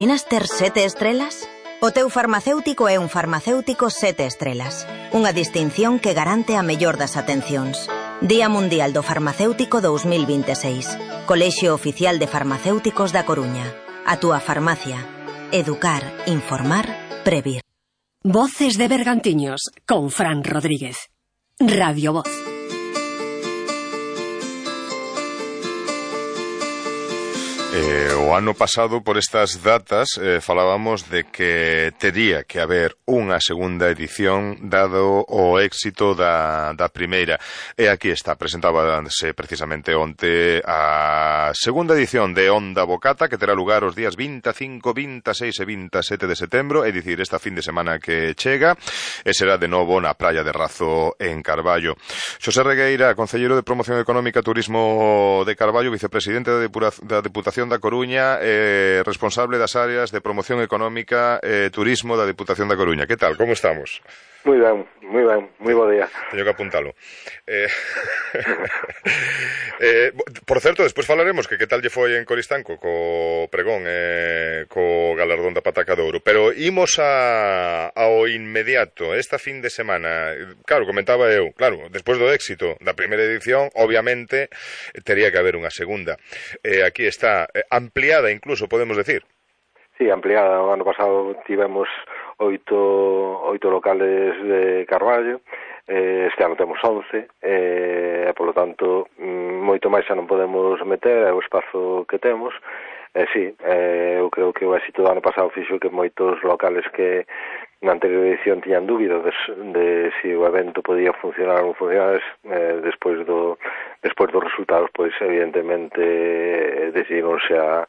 Imaginas ter 7 estrelas? O teu farmacéutico é un farmacéutico 7 estrelas. Unha distinción que garante a mellor das atencións. Día Mundial do Farmacéutico 2026. Colexio Oficial de Farmacéuticos da Coruña. A túa farmacia. Educar, informar, previr. Voces de Bergantiños con Fran Rodríguez. Radio Voz. O ano pasado, por estas datas, falábamos de que tería que haber unha segunda edición dado o éxito da primeira. E aquí está, presentábase precisamente onte a segunda edición de Onda Bocata, que terá lugar os días 25, 26 e 27 de setembro, é dicir, esta fin de semana que chega, e será de novo na Praia de Razo, en Carballo. Xosé Regueira, concelleiro de Promoción Económica e Turismo de Carballo, vicepresidente da Deputación da Coruña, responsable das áreas de promoción económica e turismo da Deputación da Coruña. Que tal? Como estamos? Moi ben, moi bo día. Teño que apuntalo. Por certo, despois falaremos que tal lle foi en Coristanco co pregón co galardón da Pataca de Ouro, pero imos ao inmediato, esta fin de semana. Claro, comentaba eu, claro, despois do éxito da primeira edición, obviamente tería que haber unha segunda. Aquí está, ampliada incluso, podemos decir. Sí, ampliada. O ano pasado tivemos 8 locales de Carballo, este ano temos 11, e polo tanto moito máis xa non podemos meter, é o espazo que temos. Sí, eu creo que o éxito do ano pasado fixo que moitos locales que na anterior edición tiñan dúbidas de se o evento podía funcionar ou non funcionar, despois dos resultados, pois evidentemente decidíronse a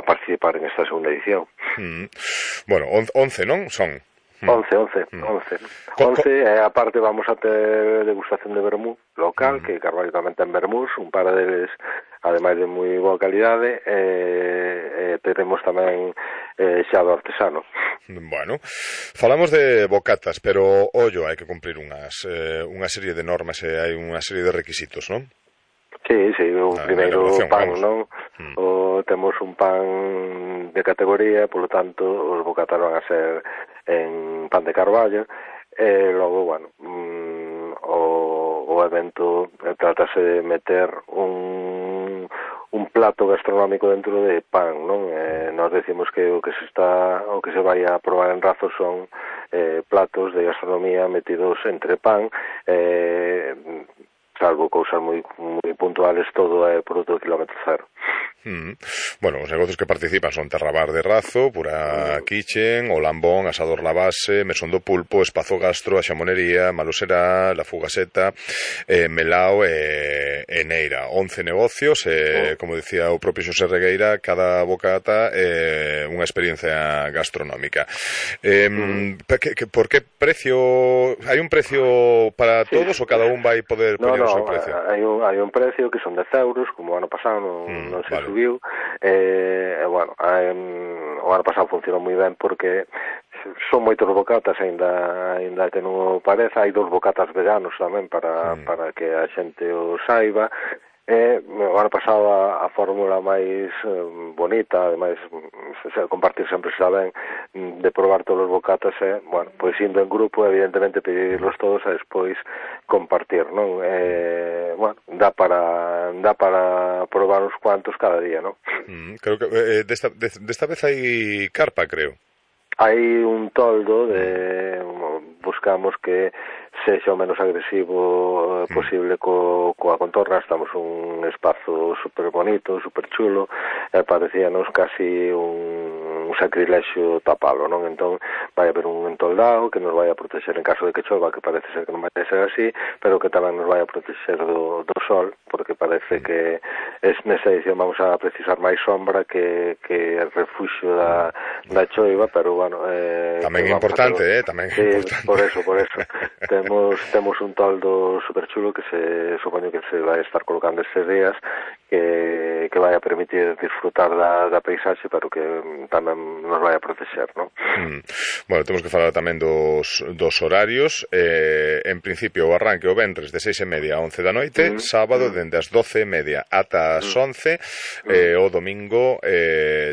participar en esta segunda edición. Bueno, 11, non? Son 11, e aparte vamos a ter degustación de vermú local, que Carballo tamén ten vermús, un par deles ademais de moi boa calidade, teremos tamén xa do artesano. Bueno, falamos de bocatas, pero ollo, hai que cumprir unha serie de normas e hai unha serie de requisitos, non? Sí, o primeiro pan, non? Temos un pan de categoría, polo tanto, os bocatas van a ser en pan de Carballo, e logo, bueno, o evento tratase de meter un plato gastronómico dentro de pan, non? Nós decimos que o que se vai a probar en Razo son platos de gastronomía metidos entre pan, salvo cousas moi puntuales, todo é produto de kilómetro cero. Bueno, os negocios que participan son Terrabar de Razo, Pura Kitchen, O Lambón, Asador La Base, Mesón do Pulpo, Espazo Gastro, A Xamonería, Maloserá, La Fugaseta, Melao e Neira. 11 negocios, como dicía o propio Xosé Regueira, cada bocata é unha experiencia gastronómica. Por que precio? Hai un precio para todos ou cada un vai poder poñer o seu precio? Hai un precio que son 10 euros, como o ano pasado non se subiu. Bueno, o ano pasado funcionou moi ben porque son moitos bocatas, ainda que non o pareza. Hai 2 bocatas veganos tamén para que a xente o saiba. O ano pasado a fórmula máis bonita, ademais compartir sempre está ben, de probar todos os bocatas, bueno, pois indo en grupo, evidentemente pedirlos todos e despois compartir, non? Bueno, dá para probar uns cuantos cada día, non? Creo que desta vez hai carpa, creo. Hai un toldo buscamos que sexa o menos agresivo posible coa contorna. Estamos un espazo super bonito, super chulo, e parecíanos casi un sacrilexio tapalo, non? Entón vai haber un entoldado que nos vai a protexer en caso de que chova, que parece ser que non vai ser así, pero que tamén nos vai a protexer do sol, porque parece que nesta edición vamos a precisar máis sombra que refuxio da choiva, pero bueno, tamén é importante, tamén é importante. Por eso. Temos un toldo super chulo que supoño que se vai estar colocando estes días, que que vai a permitir disfrutar da paisaxe, pero que tamén nos vai a proteger, non? Bueno, temos que falar tamén dos horarios. En principio, o arranque o venres de 6:30 a 11 da noite, sábado dende as 12:30 ata as 11, o domingo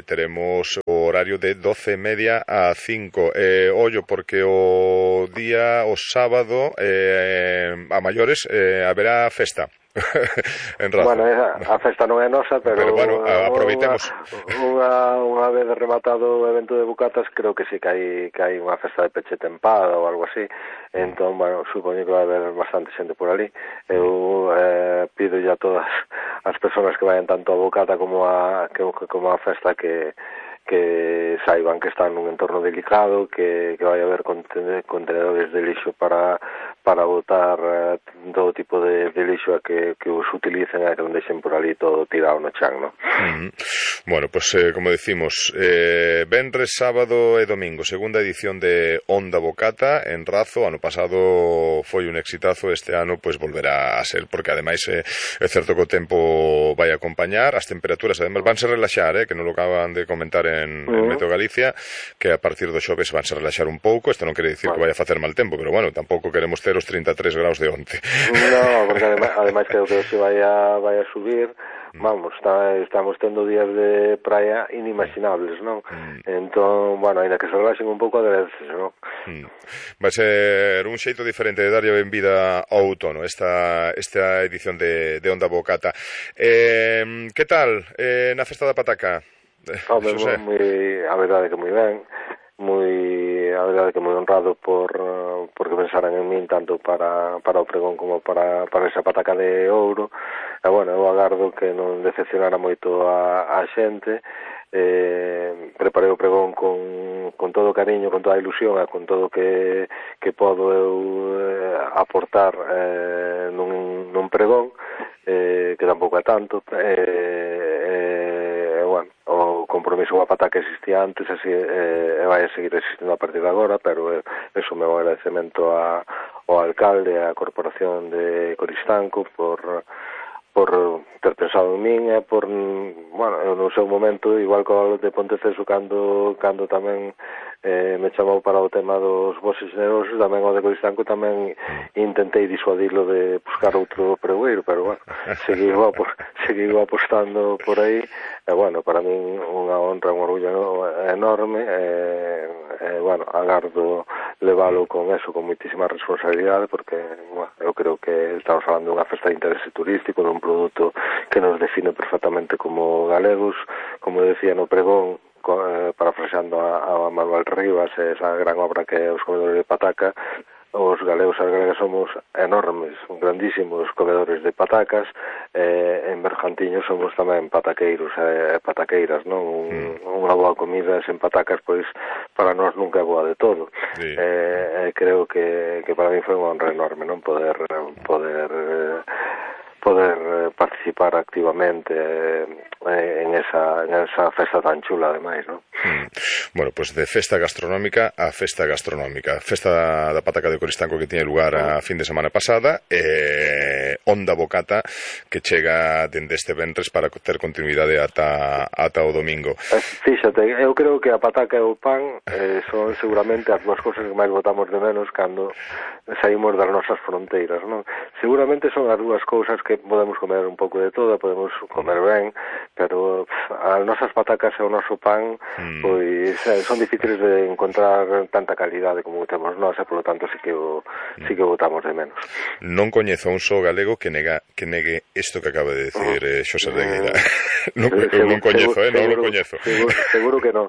teremos o horario de 12:30 a 5. Ollo, porque o sábado a maiores haberá festa en Razo. Bueno, a festa non é nosa, pero bueno, aproveitemos unha vez rematado o evento de bucatas, creo que sí que hai unha festa de peche tempada ou algo así. Entón, bueno, supoño que vai haber bastante xente por ali. Eu pido ya a todas as persoas que vayan tanto a bucata como a festa que saiban que están nun entorno delicado, que vai haber contenedores de lixo para botar todo tipo de lixo a que os utilicen e que non deixen por ali todo tirado no chan, non? Bueno, pues como decimos, venres, sábado e domingo, segunda edición de Onda Bocata en Razo. Ano pasado foi un exitazo, este ano pues volverá a ser, porque ademais é certo que o tempo vai acompañar, as temperaturas ademais vanse relaxar, que non lo acaban de comentar en Meteo Galicia, que a partir do xoves vanse relaxar un pouco. Isto non quere dicir que vai a facer mal tempo, pero bueno, tampouco queremos ter os 33 graus de onte. No, porque ademais creo que se vai a subir. Vamos, estamos tendo días de praia inimaginables, non? Entón, bueno, ainda que se relaxen un pouco agradeces, non? Vai ser un xeito diferente de darlle a benvida ao outono esta edición de Onda Bocata. Que tal na festa da pataca? A verdade que moi ben, a verdade que moi honrado porque pensaran en min tanto para o pregón como para esa pataca de ouro. E bueno, eu agardo que non decepcionara moito a xente. Preparei o pregón con todo o cariño, con toda a ilusión e con todo que podo eu aportar nun pregón, que tampouco é tanto. Bueno, o compromiso coa pataca existía antes, así vai a seguir existindo a partir de agora, pero eso o meu agradecemento ao alcalde e á corporación de Coristanco por ter pensado en min e por, bueno, no seu momento, igual que o de Ponteceso cando tamén me chamou para o tema dos voces generosos, tamén o de Coristanco tamén intentei disuadilo de buscar outro pregoeiro, pero bueno, seguiu apostando por aí, e bueno, para min unha honra, un orgullo enorme, bueno, agardo leválo con eso, con moitísima responsabilidade, porque, bueno, eu creo que estamos falando dunha festa de interese turístico, dun produto que nos define perfectamente como galegos, como decía no pregón, parafraseando a Manuel Rivas, esa gran obra que é Os comedores de pataca. Os galegos e as galegas somos enormes, grandísimos comedores de patacas. En Bergantiños somos tamén pataqueiros e pataqueiras, non? Unha boa comida sen patacas, pois, para nós nunca é boa de todo. Sí. Creo que para mí foi unha honra enorme, non? Poder participar activamente en esa festa tan chula, ademais, non? Bueno, pues de festa gastronómica a festa gastronómica. Festa da pataca de Coristanco que tiña lugar a fin de semana pasada, Onda Bocata que chega dende este venres para ter continuidade ata o domingo. Fíxate, eu creo que a pataca e o pan son seguramente as dúas cousas que máis botamos de menos cando saímos das nosas fronteiras, non? Seguramente son as dúas cousas que podemos comer un pouco de todo, podemos comer ben, pero as nosas patacas e o noso pan pois son difíciles de encontrar tanta calidade como temos nós, e polo tanto sí que o botamos de menos. Non coñezo un só galego que negue isto que acaba de decir Xosé Regueira. Non coñezo, non o coñezo. Seguro que non.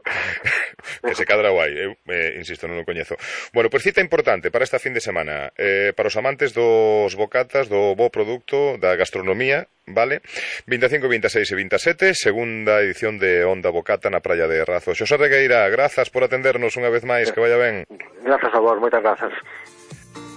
Que se cadra guai, eu insisto, non o coñezo. Bueno, pois cita importante para esta fin de semana, para os amantes dos bocatas, do bo produto, da gastronomía, vale? 25, 26 e 27, segunda edición de Onda Bocata na praia de Razo. Xosé Regueira, grazas por atendernos unha vez máis, que vaya ben. Grazas a vos, moitas grazas.